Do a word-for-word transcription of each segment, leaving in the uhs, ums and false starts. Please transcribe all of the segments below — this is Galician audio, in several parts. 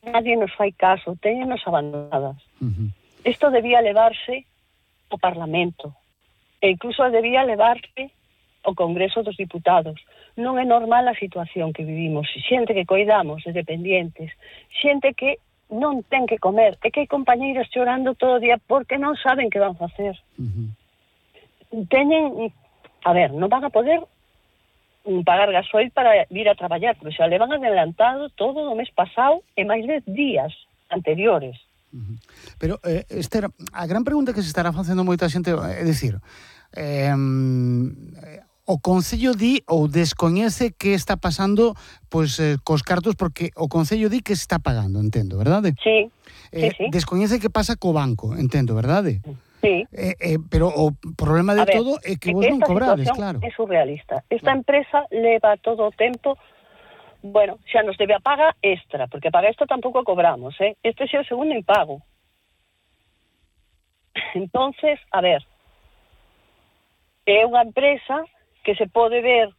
nadie nos fai caso, téñenos abandonadas. Uh-huh. Isto debía levarse ao Parlamento, e incluso debía levarse ao Congreso dos Diputados. Non é normal a situación que vivimos. Xente que coidamos de dependientes, xente que non ten que comer, e que hai compañeiras chorando todo o día porque non saben que van facer. Uh-huh. Teñen, a ver, non van a poder pagar gasoil para vir a traballar, porque xa levan adelantado todo o mes pasado e máis de días anteriores. Uh-huh. Pero, eh, Esther, a gran pregunta que se estará facendo moita xente é dicir, eh, o Concello di ou descoñece que está pasando pois eh, cos cartos, porque o Concello di que se está pagando, entendo, verdade? Sí, eh, sí, sí. Descoñece que pasa co banco, entendo, verdade? Sí. Eh, eh, pero o problema de ver, todo é que é vos que non esta cobrades, situación claro. É surrealista. Esta empresa leva todo o tempo, bueno, xa nos debe a paga extra, porque a paga extra tampouco cobramos, eh? Este xa é o segundo impago. Entonces, a ver, é unha empresa que se pode ver,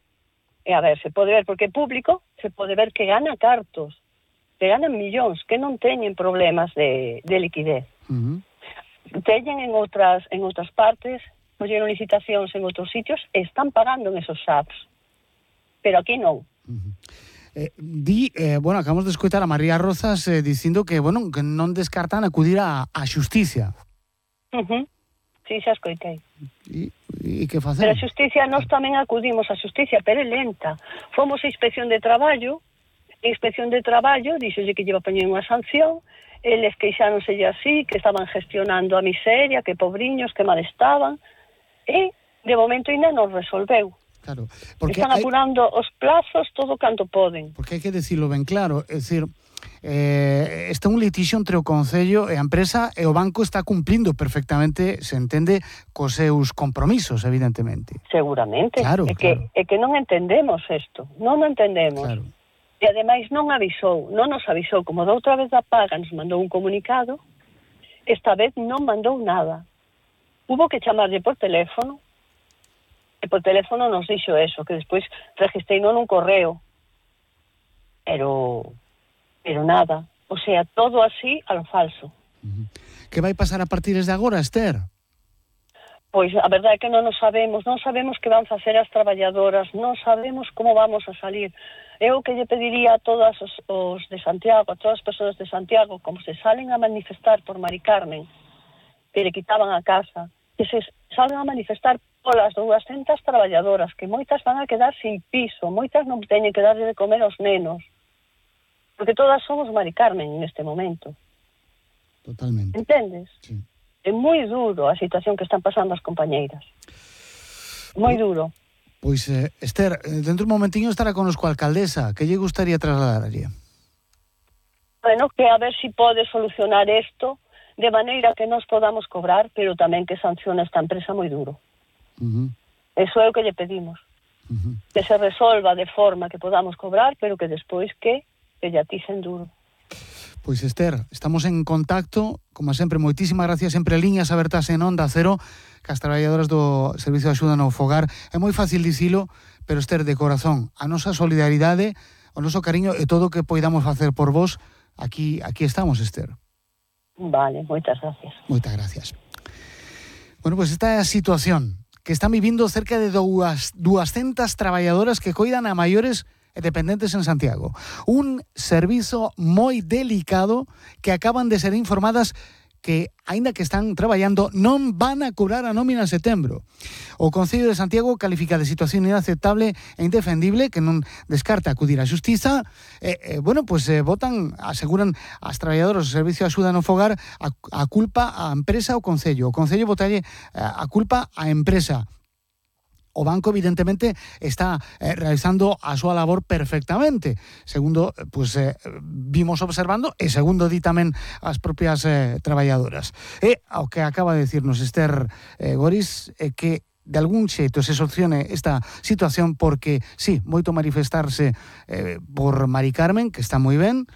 e a ver, se pode ver porque é público, se pode ver que gana cartos, que ganan millóns, que non teñen problemas de, de liquidez. Uh-huh. Teñen en outras en outras partes, colleron licitacións en outros sitios e están pagando en esos apps. Pero aquí non. Uh-huh. Eh, di, eh, bueno, acabamos de escoitar a María Rozas eh, dicindo que, bueno, que non descartan acudir a, a xusticia. Uh-huh. Sí, xa escoitei. E, e que facer? Pero a xusticia, nós tamén acudimos a xusticia, pero é lenta. Fomos a Inspección de Traballo, a Inspección de Traballo dixolle que lleva a poñer unha sanción, eles queixáronselle así, que estaban gestionando a miseria, que pobriños, que mal estaban, e de momento ainda non resolveu. Claro, porque están hai, apurando os plazos todo canto poden. Porque hai que decirlo ben claro, é dicir, eh, está un litixio entre o Concello e a empresa, e o banco está cumplindo perfectamente, se entende, cos seus compromisos, evidentemente. Seguramente. Claro, é que, claro. é que non entendemos isto, non o entendemos. Claro. E ademais non avisou, non nos avisou, como da outra vez da paga nos mandou un comunicado, esta vez non mandou nada. Hubo que chamarlle por teléfono, e por teléfono nos dixo eso, que despois registrei non un correo. Pero, pero nada. O sea, todo así a lo falso. Uh-huh. Que vai pasar a partir de agora, Esther? Pois a verdade é que non nos sabemos, non sabemos que van facer as traballadoras, non sabemos como vamos a salir. Eu que lle pediría a todos os, os de Santiago, a todas as persoas de Santiago, como se salen a manifestar por Mari Carmen, que le quitaban a casa, que se salen a manifestar polas duascentas traballadoras, que moitas van a quedar sin piso, moitas non teñen que darle de comer aos nenos, porque todas somos Mari Carmen neste momento. Totalmente. Entendes? Sí. É moi duro a situación que están pasando as compañeiras. Moi duro. Pois, eh, Esther, dentro un momentiño estará conosco a alcaldesa. Que lle gustaría trasladarlle? Bueno, que a ver si pode solucionar isto de maneira que nos podamos cobrar, pero tamén que sancione esta empresa moi duro. Uh-huh. Eso é o que lle pedimos. Uh-huh. Que se resolva de forma que podamos cobrar, pero que despois que, que lle aticen duro. Pois, Esther, estamos en contacto, como sempre, moitísimas gracias, sempre liñas abertas en Onda Cero, que as traballadoras do Servicio de Axuda no Fogar. É moi fácil dicilo, pero, Esther, de corazón, a nosa solidaridade, o noso cariño e todo o que poidamos facer por vos, aquí aquí estamos, Esther. Vale, moitas gracias. Moitas gracias. Bueno, pois esta é a situación que están vivindo cerca de duascentas traballadoras que coidan a maiores e dependentes en Santiago. Un servizo moi delicado que acaban de ser informadas que, aínda que están traballando, non van a cobrar a nómina en setembro. O Concello de Santiago califica de situación inaceptable e indefendible, que non descarta acudir á xustiza. E, eh, bueno, pois pues, eh, votan, aseguran as traballadoras do Servicio de Axuda no Fogar a, a culpa á empresa ao Concello. O Concello votalle a culpa á empresa. O banco, evidentemente, está eh, realizando a súa labor perfectamente, segundo pues, eh, vimos observando, e segundo di tamén as propias eh, traballadoras. E ao que acaba de decirnos Esther eh, Goris, é eh, que de algún xeito se solucione esta situación, porque, sí, moito manifestarse eh, por Mari Carmen, que está moi ben,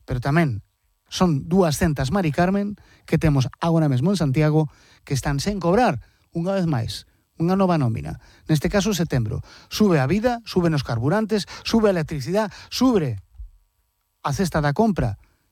pero tamén son duascentas Mari Carmen que temos agora mesmo en Santiago que están sen cobrar, unha vez máis, unha nova nómina. Neste caso, setembro. Sube a vida, sube nos carburantes, sube a electricidade, sube a cesta da compra.